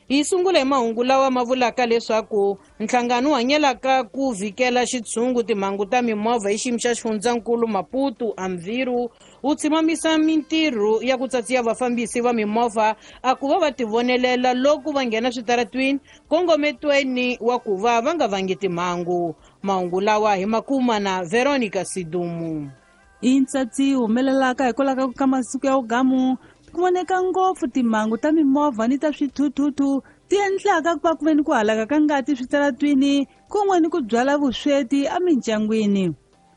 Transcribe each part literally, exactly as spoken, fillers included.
Hi sungula hi mahungu lawa ma vulaka leswaku nhlangano wu hanyelaka ku vhikela xitshungu timhangu ta mimovha hi xiyimo xa xifundzankulu Maputo Amviru wu tshimamisa mintirho ya ku tsatsiya vafambisi va mimovha a ku va va tivonelela loko va nghena switaratwini kongometweni wa ku va va nga vangi timhangu. Mahungu lawa hi makuma na Veronica Sidumu. I ntsatsi humelelaka hikwalaho ka masiku ya ugamu ku voneka ngopfu timhangu ta mimovha ni ta swithuthuthu ti endlaka ku va ku ve ni ku halaka ka ngati switaratwini kun'we ni ku byala vusweti emindyangwini.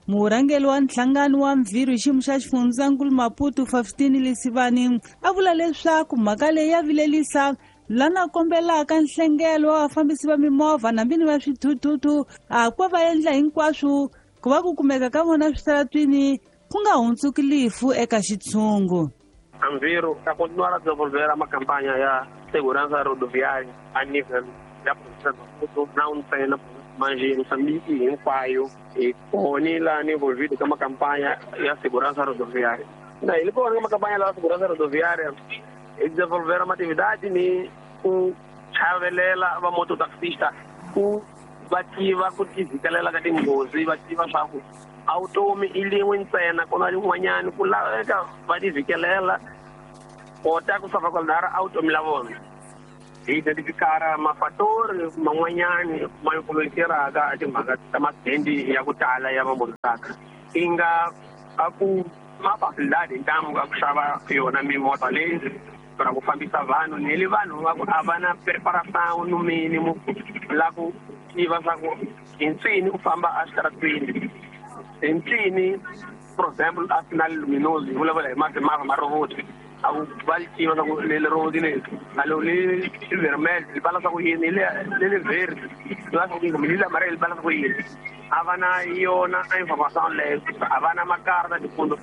Murhangeri wa nhlangano wa Mviri hi xiyimo xa xifundzankulu Maputo Faustini Lesivani a vula leswaku mhaka leyi ya vilelisa lana kombelaka nhlengelo wa vafambisi va mimovha na vini va swithuthuthu a ku va endla hinkwaswo ku va ku kumeka ka vona switaratwini ku nga hundzuki lifu eka xitshungu. Anviro está continuar a desenvolver uma campanha ya segurança rodoviária a nível da província do Maputo, não tem na província de Moçambique hinkwayo hi kona laha ni envolvido ka campanha ya segurança rodoviária. Na ele kona uma campanha la segurança rodoviária e desenvolver uma atividade ni ku chavelela va mototaxista ku va tiva ku tivhikelela ka tinghozi, va tiva swa ku a vutomi i lin'we ntsena ku na rin'wanyani ku laveka va tivhikelela kota ku salvaguardar a vutomi la vona. Hi identifikara mafatori man'wanyani ma influenceraka timhaka ta masendi ya ku tala ya vamototaxi i nga a ku ma facilidade ntamu ka ku xava yona mimovha leyi ra ku fambisa vanhu ni le vanhu va ku a va na preparação no mínimo la ku tiva swa ku hi ncini u famba exitaratwini hi ncini, for example a sinal luminoso hi vulavula hi mavha ma robot a ku va li tiva swa ku leli robot leri a lo li vermelho li bala swa ku yini leli verde li bala swa ku yini kumbe leli amarelo li bala swa ku yini. A va na yona information leyo, a va na makarta tipunto.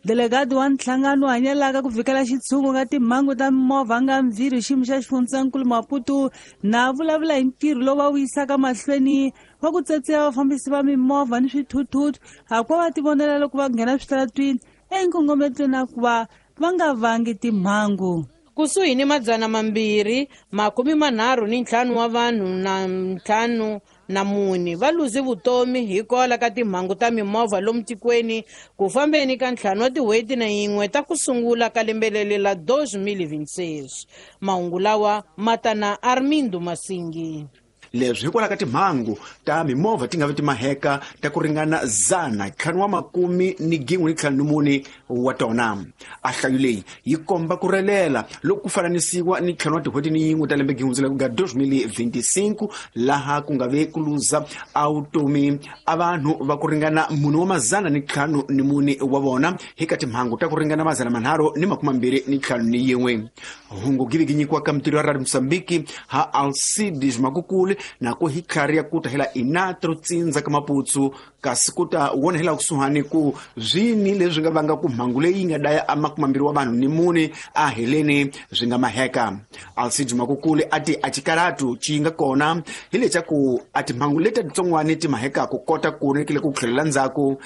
Delegado wa nhlangano wu hanyelaka ku vhikela xitshungu ka timhangu ta mimovha nga Mviri hi xiyimo xa xifundzankulu Maputo na vulavula hi ntirho lowu va wu yisaka mahlweni wa ku tsatsiya vafambisi va mimovha ni swithuthuthu a ku va va tivonela loko va nghena switaratwini enkongometweni na ku va va nga vangi timhangu. Kusuhi ni madzana mambirhi makume manharhu ni ntlhanu wa vanhu na ntlhanu na mune va luze vutomi hikwalaho ka timhangu ta mimovha lomu tikweni ku fambeni ka ntlhanu wa tin'hweti na yin'we ta ku sungula ka lembe leri la deux mille vingt-six. Mahungu lawa ma ta na Armindo Masingi. Leswi hikwalaho ka timhangu ta mimovha ti nga vi ti maheka ta ku ringana zana ntlhanu wa makumi ni gin'we ni ntlhanu ni mune wa tona. A nhlayo leyi yi komba ku relela loko ku fananisiwa ni ntlhanu wa tin'hweti ni yin'we ta lembe gihundzela ku nga deux mille vingt-cinq laha ku nga ve ku luza a vutomi a vanhu va ku ringana mune wa mazana ni ntlhanu ni mune wa vona hi ka timhangu ta ku ringana mazana manharhu ni makume mambirhi ni ntlhanu ni yin'we. Hungu givi gi nyikiwaka mitirho ya Radio Mozambique ha Alcides Makukule na ku hi tlhari ya ku ta hela inatro tsindza ka Maputsu kasi ku ta wona hela kusuhani ku zwini leswi nga vanga ku mhangu leyi nga daya a makume mambirhi wa vanhu ni mune a heleni swi nga maheka. Alcides Makukule a ti a xikaratu xi nga kona hi leswaku a timhangu leti titsongwani ti maheka ku kota ku nekile ku tlhelela ndzhaku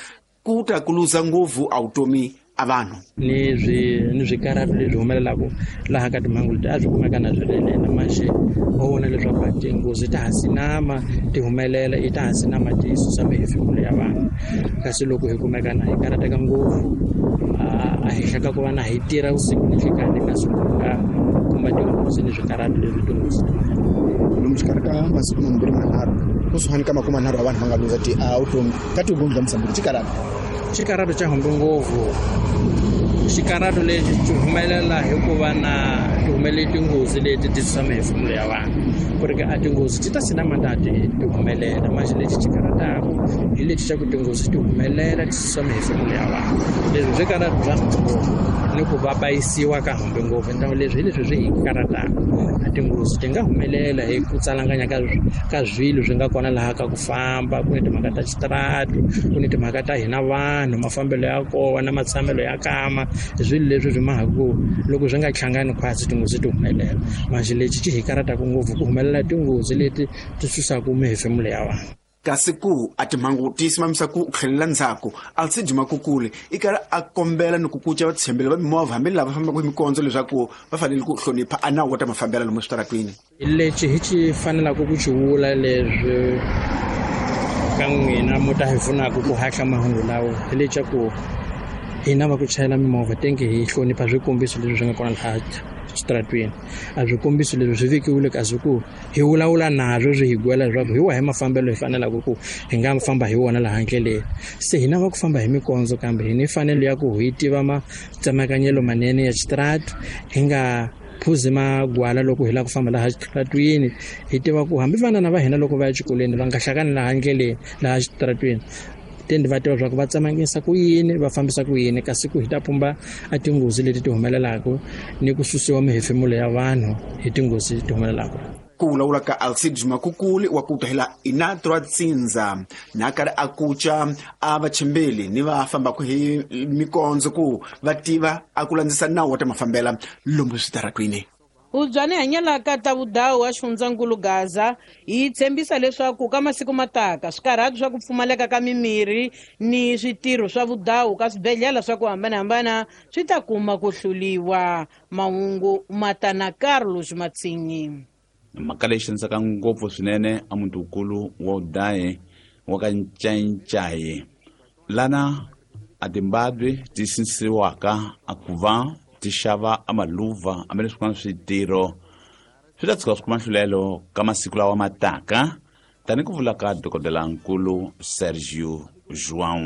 ku ta ku luza ngopfu a vutomi a vanhu. Ni swi ni swikaratu leswi humelelaka laha ka timhangu leti a swi kumeka na swi rinene manjhe wa vona leswaku tinghozi ta ha sinama ti humelela i ta ha sinama ti susa mihefemulo ya vanhu kasi loko hi kumeka na hi karateka ngopfu a henhla ka ku va na hi tirha vusiku ni nhlikani kasi ku nga kuma tinghozi ni swikaratu leswi tinghozi ti lomu xikarhi ka masiku mambirhi manharhu kusuhani ka makume manharhu wa vanhu va nga luza ti a vutomi ka tinghozi ta Mozambique xikaratu xikaratu xa humbe ngopfu. Xikaratu lexi xi humelela hikuva na ti humelele tinghozi leti ti susa mihefemulo ya vanhu ku ri ke a tinghozi ti ta sinama ta ti ti humelela manjhe lexi xi karataku hi lexi xa ku tinghozi ti humelela ti susa mihefemulo ya vanhu leswi swi karatu bya humbe ngopfu ni ku va bayisiwa ka humbe ngopfu ntango leswi hi leswi swi hi karataku a tinghozi ti nga humelela hi ku tsalanganya ka ka swilo swi nga kona laha ka ku famba ku ni timhaka ta xitaratu ku ni timhaka ta hina vanhu mafambelo ya kona matshamelo ya kama swilo leswi swi mahaku loko swi nga hlangani khwatsi tinghozi ti humelela manjhe lexi xi hi karataku ngopfu ku humelela tinghozi leti ti susaka mihefemulo ya vanhu. Kasi ku a timhangu ti simamisa ku tlhelela ndzhaku, Alcide Makukule i karhi a kombela ni ku kuca vatshembeli va mimovha hambi lava fambaka hi mikondzo leswaku va fanele ku hlonipha a nawu wa ta mafambelo lomu switaratwini. Lexi hi xi fanelaka ku xi vula leswi ka n'wina mo ta hi pfunaka ku hatla mahungu lawa hi leswaku hina va ku chayela mimovha tenge hi hlonipha swikombiso leswi swi nga kona laha xitaratwini. A swikombiso leswi swi vekiwile kasi ku hi vulavula naswo swi hi gwela leswaku hi wahi mafambelo hi fanelaka ku hi nga famba hi wona laha ndleleni. Se hina va ku famba hi mikondzo kambe hi ni fanelo ya ku hi tiva matsemakanyelo manene ya xitaratu, hi nga phuzi magwala loko hi lava ku famba laha xitaratwini. Hi tiva ku hambi vana va hina loko va ya exikolweni va nga hlakani laha ndleleni laha xitaratwini, tende va tiva leswaku va tsemangisa ku yini, va fambisa ku yini, kasi ku hi ta pumba a tinghozi leti ti humelelaka ni ku susiwa mihefemulo ya vanhu hi tinghozi ti humelelaka. Ku vulavula ka Alcide Makukule wa ku tahela Inatra Tsindza na karhi a kuca a vachembeli ni va fambaka hi mikondzo ku va tiva a ku landzisa nawu wa ta mafambela lomu switaratwini. Ubyani hanyelaka ta vudawu wa xifundzankulu Gaza yi tshembisa leswaku ka masiku mataka swikarhati swa ku pfumaleka ka mimirhi ni switirho swa vudawu ka swibedhlele swa ku hambanahambana swi ta kuma ku hluliwa. Mahungu matana Carlos Matsinyi. Mhaka leyi xanisaka ngopfu swinene a mutukulu wa udaye wa ka Ncaincayi lana a timbabwe ti sinsiwaka a ku va ti xava a maluva hambi leswi swin'wana switirho swi ta tshuka swi kuma nhlulelo ka masiku lawa mataka, tani ku vula ka dokodelankulu Sergio João.